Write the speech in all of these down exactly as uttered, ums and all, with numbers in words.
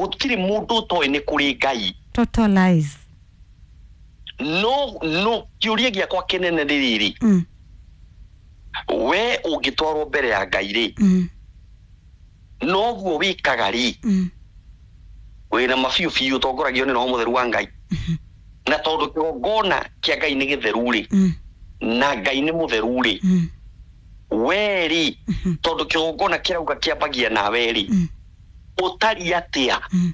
Gũtirĩ mũndũ ũtoĩ nĩ kũrĩ Ngai. Total lies. No no kĩũria gĩakwa kĩnene nĩ rĩrĩ, Mm. we ũngĩtwarwo mbere ya Ngai rĩ, Mm. noguo wĩkaga rĩ, Mm. wĩna mabiũ biũ ũtongoragio nĩ Roho Mũtheru wa Ngai, na tondũ kĩgongona kĩa Ngai nĩ gĩtheru rĩ, Mm. na Ngai nĩ mũtheru rĩ, Mm. we rĩ, Mhm. tondũ kĩgongona kĩrauga kĩambagia nawe rĩ, Mm. ũtariĩ atĩa? Mm.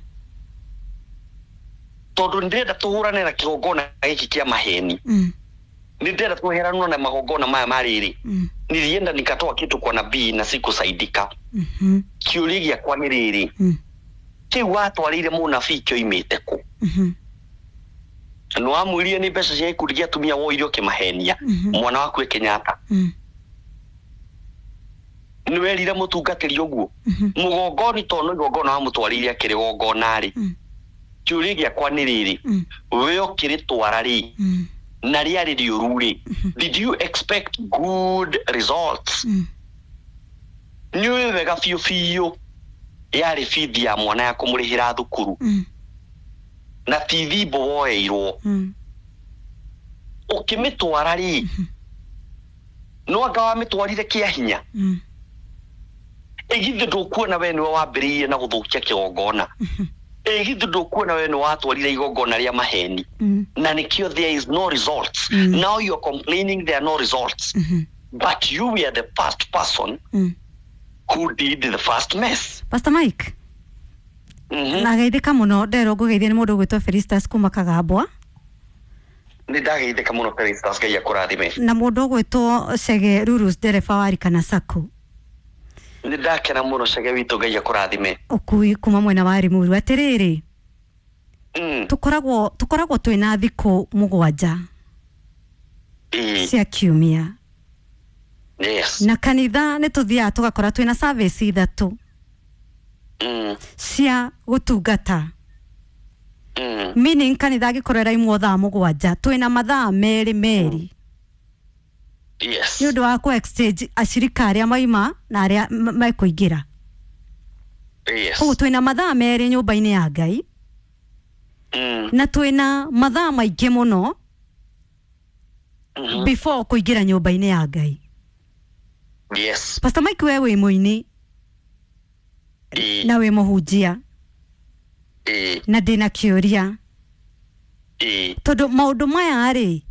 Tondũ nĩndĩrenda tũhũrane na kĩgongona gĩkĩ kĩa maheni. Mm. Nĩndĩrenda tweheranwo na magongona maya ma rĩrĩ. Mm. Nilienda nikatoa kitu kwa nabii na sikusaidika. Mhm. Kĩũria gĩakwa nĩ rĩrĩ, Mm. kĩu watwarĩire mũnabii kĩoimĩte kũ? Mhm. Nĩwamwĩrire nĩ mbeca cia gĩkundi gĩa atumia woire ũkĩmahenia Mhm. mwana waku e Kenyatta. Mm. Nĩwerire mũtungatĩri ũguo Mhm. mũgongoni, tondũ igongona wamũtwarĩire akĩrĩgongona rĩ, Mm. kĩũria gĩakwa nĩ rĩrĩ, Mm. we ũkĩrĩtwara rĩ, Mm. na rĩarĩ rĩũru rĩ, did you expect good results? Mm. Nĩũĩ wega biũ biũ yarĩ bithi ya mwana ya kũmũrĩhĩra thukuru, Mm. na ti thimbo woeirwo. Mm. Ũkĩmĩtwara rĩ, no anga wamĩtwarire kĩa hinya? Mm. Ĩgithĩ ndũkuona we nĩwe wambĩrĩirie na gũthũkia kĩgongona? Ĩgithĩ ndũkuona we nĩwe watwarire igongona rĩa maheni? Mm. Na nĩkĩo there is no results. Mm. Now you're complaining there are no results, Mhm. but you were the first person Mm. who did the first mess. Pastor Mike, mm -hmm. na geithĩka mũno, nderwo ngũgeithie nĩ mũndũ ũgwĩtwo Felistas kuma Kagambwa. Nĩ ndageithĩka mũno, Felistas, Ngai akũrathime. Na mũndũ ũgwĩtwo Chege Rurus, ndereba wa Rikana Sacco. Nĩ ndakena mũno, Cege witũ, Ngai akũrathime. Ũkui kuma mwena wa Limuru. Atĩrĩrĩ, mm. tũkoragwo tũkoragwo twĩna thikũ mũgwanja Ĩĩ. cia kiumia, yes na kanitha nĩ tũthiaga tũgakora twĩna service ithatũ mm. cia gũtungata, Mm. meaning kanitha angĩkorwo ĩraimwo thaa mũgwanja, twĩna mathaa merĩ merĩ yes nĩ ũndũ wa kũ exchange acirika arĩa maima na arĩa m- mekũingĩra. Yes koguo twĩna mathaa merĩ nyũmba-inĩ ya Ngai, mm. na twĩna mathaa maingĩ mũno mm -hmm. before kũingĩra nyũmba-inĩ ya Ngai. Yes Pastor Mike, we wĩ mũini Ĩĩ. na wĩ mũhunjia, Ĩĩ. na ndĩna kĩũria, Ĩĩ. tondũ maũndũ maya rĩ,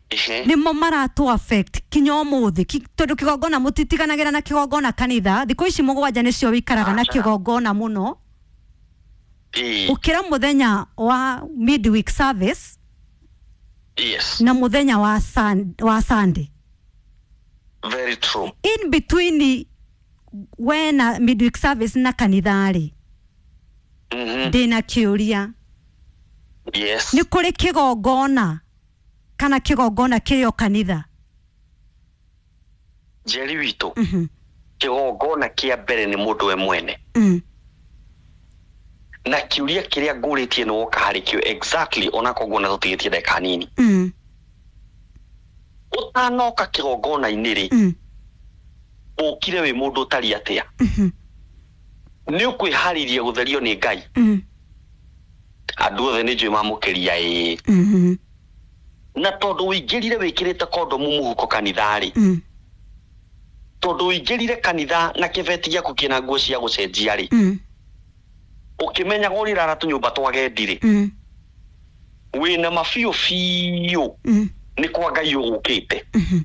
Ehe. nĩmo maratũ affect kinya ũmũthĩ. Ki- tondũ kĩgongona mũtitiganagĩra na kĩgongona kanitha, thikũ ici mũgwanja nĩcio wĩikaraga na Aca. kĩgongona mũno Ĩĩ. ũkĩra mũthenya wa midweek service yes na mũthenya wa, sun, wa Sunday. Very true. In between we na midweek service na kanitha rĩ, mm -hmm. ndĩna kĩũria. Yes nĩ kũrĩ kĩgongona kana kĩgongona kĩrĩ o kanitha? Njeri witũ, Mhm. kĩgongona kĩa mbere nĩ mũndũ we mwene. Mm. Na kĩũria kĩrĩa ngũrĩtie nĩ woka harĩ kĩo exactly, onakorwo nguona tũtigĩtie ndagĩka nini. Mm. Ũtanoka kĩgongona-inĩ rĩ, Mm. ũkire wĩ mũndũ ũtariĩ atĩa? Mhm. Nĩ ũkwĩharĩria gũtherio nĩ Ngai? Mm. Andũ othe nĩ njũĩ mamũkĩria ĩĩ. Mhm. Na tondũ ũingĩrire wĩkĩrĩte kondomu mũhuko kanitha rĩ, Mm. tondũ ũingĩrire kanitha na kĩbeti gĩaku kĩna nguo cia gũcenjia rĩ, Mm. ũkĩmenyaga ũrĩrara tũnyũmba twa gendi rĩ, Mm. wĩna mabiũ biũ Mm. nĩ kwa Ngai ũgũkĩte. Mhm.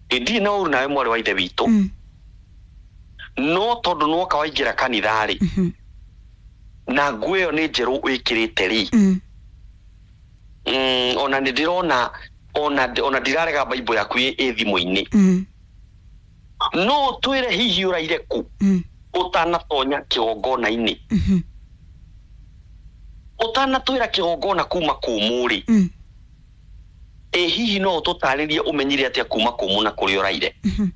Ndirĩ na ũru nawe, mwarĩ wa ithe witũ, Mm. no tondũ nĩwoka waingĩra kanitha rĩ, Mhm. na nguo ĩyo nĩ njerũ wĩkĩrĩte rĩ, Mm. mm, ona nĩ ndĩrona ona ona ndirarega Bible yaku ĩ ĩ thimũ-inĩ, Mm. no ũtwĩre hihi ũraire kũ Mm. ũtanatonya kĩgongona-inĩ? Mhm. Ũtanatwĩra kĩgongona kuma kũmũ rĩ, Mm. ĩ hihi no ũtũtarĩrie ũmenyire atĩa kuma kũmũ na kũrĩa ũraire? Mhm.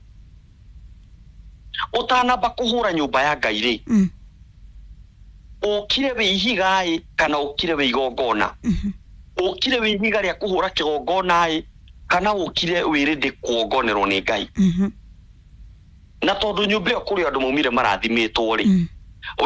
Ũtanamba kũhũra nyũmba ya Ngai rĩ, Mm. ũkire wĩ ihiga ĩ kana ũkire wĩ igongona? Mhm. Ũkire wĩ ihiga rĩa kũhũra kĩgongona ĩ kana ũkire wĩ ready kuongonerwo nĩ Ngai? Mhm. Na tondũ nyũmba ĩyo kũrĩ andũ maumire marathimĩtwo rĩ, Mm.